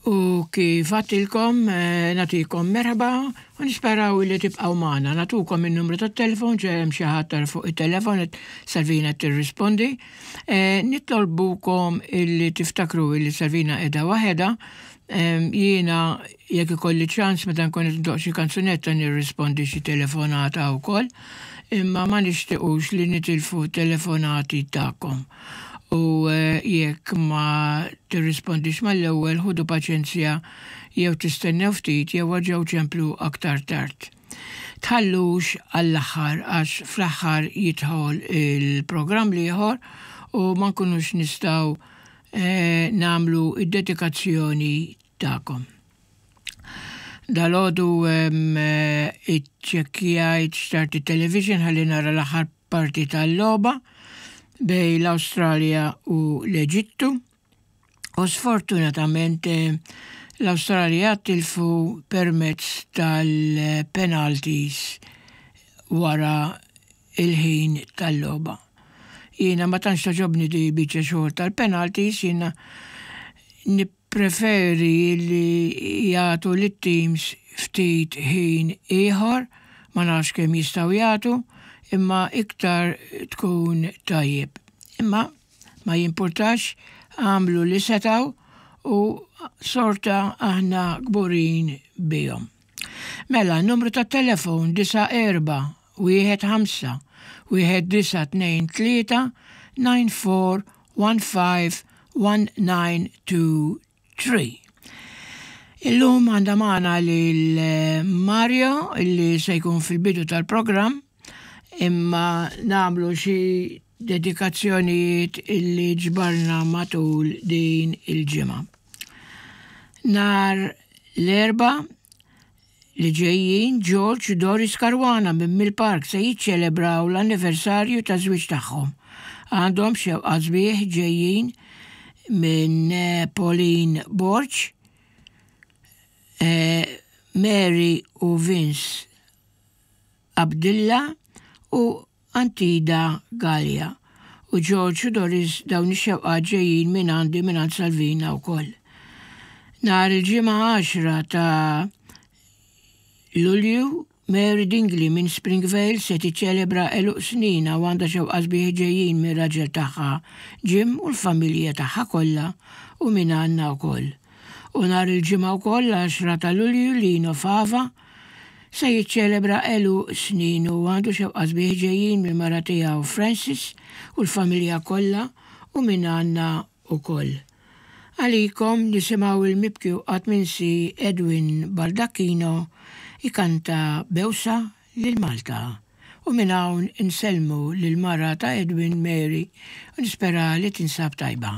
U kif għattilkom, eh, natikom merħba u nisperaw li tibqgħu magħna. Natukom in-numru tat-telefon ġe hemm xi ħadd fuq it-telefon qed Salvina tirrispondi. Eh, nitolbukom illi tiftakru illi Salvina qiegħda waħedha. Jiena jekk ikolli ċans meta nkun qed ndoq xi kanzunetta nirrispondi xi telefonata wkoll, imma ma nixtiequx li nitilfu telefonati tagħkom. U eh, jekk ma tirrispondix mal-ewwel ħudu paċenzja jew tistennew ftit jew erġgħu ċemplu aktar tard. Tħallux għall-aħħar għax fl-aħħar jidħol il-programm l-ieħor u ma nkunux nistgħu eh, nagħmlu id-dedikazzjoni tagħkom. Dalgħodu eh, iċċekkjajt xtart it-television ħalli nara l-aħħar parti tal-logħba bej l-Awstralja u l-Eġittu u sfortunatament eh, l-Awstralja tilfu permezz tal-penalties wara il-ħin tal-logħba. Jiena ma tantx togħġobni di biċċa xogħol tal-penalties, jiena nippreferi li jagħtu lit-teams ftit ħin ieħor, ma nafx kemm jistgħu jagħtu, imma iktar tkun tajjeb. Imma ma jimpurtax, għamlu li setgħu u sorta aħna kburin bihom. Mela, numru ta' telefon 94 1 5 1 9 2 3 9 4 1 5 1 9 2 3. Illum għandha magħna lil eh, Mario illi se jkun fil-bidu tal-programm imma nagħmlu xi dedikazzjonijiet illi ġbarna matul din il-ġimgħa. Nar l-Erbgħa li ġejjin, George u Doris Caruana minn Mill Park se jiċċelebraw l-anniversarju taż-żwieġ tagħhom. Għandhom xewqat sbieħ ġejjin minn Pauline Borg, Mary u Vince Abdilla u Antida Galea u George u Doris dawn ix-xewqat ġejjin mingħandi mingħand Salvina wkoll. Nhar il-Ġimgħa 10 ta' Lulju, Mary Dingley minn Springvale se tiċċelebra għeluq sninha u għandha xewqat sbieħ ġejjin mir-raġel tagħha Jim u l-familja tagħha kollha u mingħandna wkoll. U nhar il-Ġimgħa wkoll l-10 ta' Lulju Lino Fava se jiċċelebra għeluq sninu u għandu xewqa sbieħ ġejjin mill-mara tiegħu Frances u l-familja kollha u minn għandna wkoll. Għalikom nisimgħu il-mibki u qatt minsi Edwin Baldacchino jkanta Bewsa lil Malta. U minn hawn insellmu lill-mara ta' Edwin Mary u nispera li tinsab tajba.